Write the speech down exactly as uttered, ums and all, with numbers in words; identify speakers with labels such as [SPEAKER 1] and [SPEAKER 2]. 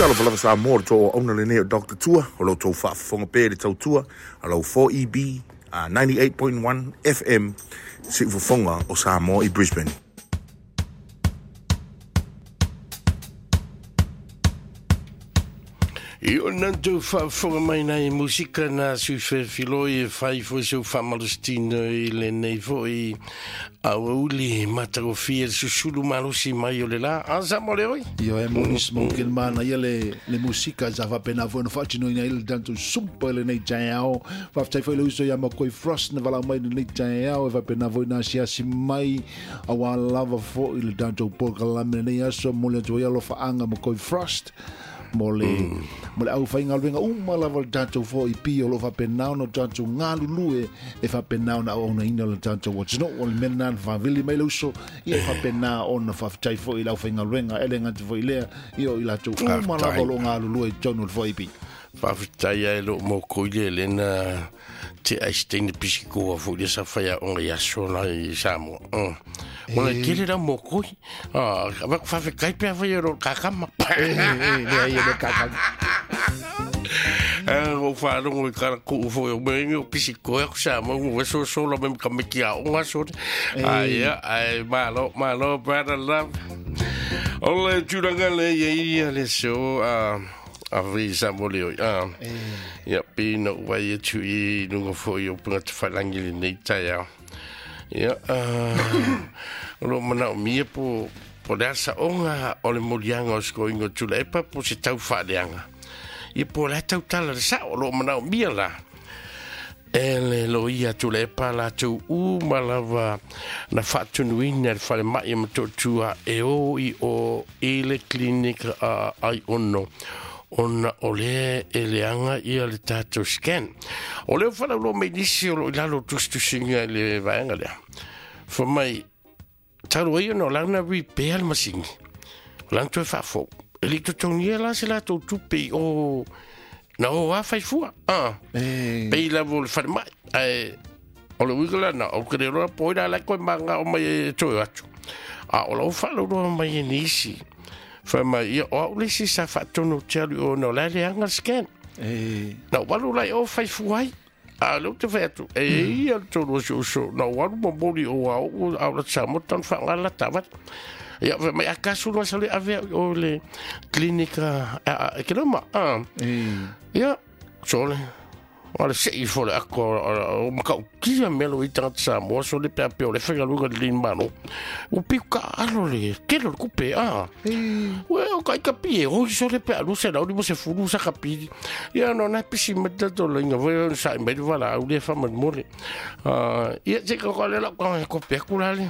[SPEAKER 1] Talofa lava Samoa le tou auauna lenei o Doctor Tua, o lo outou faafofoga pea i le tautua a lau four E B uh, ninety-eight point one F M siufofoga o Samoa i Brisbane.
[SPEAKER 2] I o nantou faafofoga mai nai musika na sui felfiloi e fai foi seu faamalositino i lenei foi auauli matagofie le susulu malosi mai o le la. A sa mo le oi?
[SPEAKER 3] Io e mo nis mo ken mana ia le le musika sa faapena foi ona faatinoina ai le tatou sumpa i lenei taeao. Faafetai foi le uso ia Makoi Frost na valaau mai i lenei taeao e faapena foi na asiasi mai auā lava foi le tatou polokalame lenei aso mo le atu ai alofaaga Makoi Frost. Mo le mo le au whaingaluenga uma lava le tatou four E P o lo faapena ona tatou galulue e faapena ona auaunaina le tatou atunuu. O le mea lena na faavili mai le uso ia e faapena ona faafetai foi i le aufaigaluega e le gata foi lea ia o i latou uma lava o lo o galulue i totonu o le four E P.
[SPEAKER 2] Faafetai ai loo mokoi le lena te aisteine pisikoa foi le sa faiaoga i aso la i Samoa. Ona tele lau mokoi. Avaku faafetai pea fai o loo kakama.
[SPEAKER 3] Leai e le kakama.
[SPEAKER 2] O faalogo i kalakuu foi o mea o pisikoa aku Samoa ua sosola mai ma kameki aoga aso. Aia, ai malo, malo, brother love. O le tulaga le ia ia le so a visa mo le oi. Ia pina ua ia tu i nunga foi o punga te whailangi le nei tai au. Ia, o lo mana o mia po, po le asa onga o le molianga o skoingo tula epa po se tau whaaleanga. Ia po le tau tala le sao o lo mana o mia la. E le lo ia tula epa la tau u malava na whaatunuina le whale mai matotua e o i o i le klinika a ai ono. Ona o le e leanga ia le tatou scan. O leo whalau lo mei nisi o lo ilalo tusitusinga le vaenga lea. Fa mai, talu ai ona o lana repair le masingi. O lana toe faafou. E li totogia la se latou tupe i o na o a faifua. Ah. Pei lavo le whare mai. Ai, o le uiga lana, o kere roa poi la lai koe manga o mai e toe atu. A o lau whalau roa mai e nisi. Fa mai ia o au lesi sa faatonu te alu o na o lai leanga scan. Na walu lai o faifua ai. A leo te whai atu. E ia le tolu o si uso. Na walu momoli o au au la tsa motan whaangala tawat. Ia fa mai akasu loa sa le avea o le klinika a e ke loma. Ia sole. O le sei fo le ako o makau kia melo i tangata Samoa so le pea pea o le whaingaluga le lin mano. O piu ka alo le kelo le kupe a. Ue o kai kapi e hoi so le pea alu se lau li mo se fulu sa kapi. Ia no na pisi mata to le inga voi sa mai le wala au le whaman mole. Ia te ka le lau ka ko pea kula le.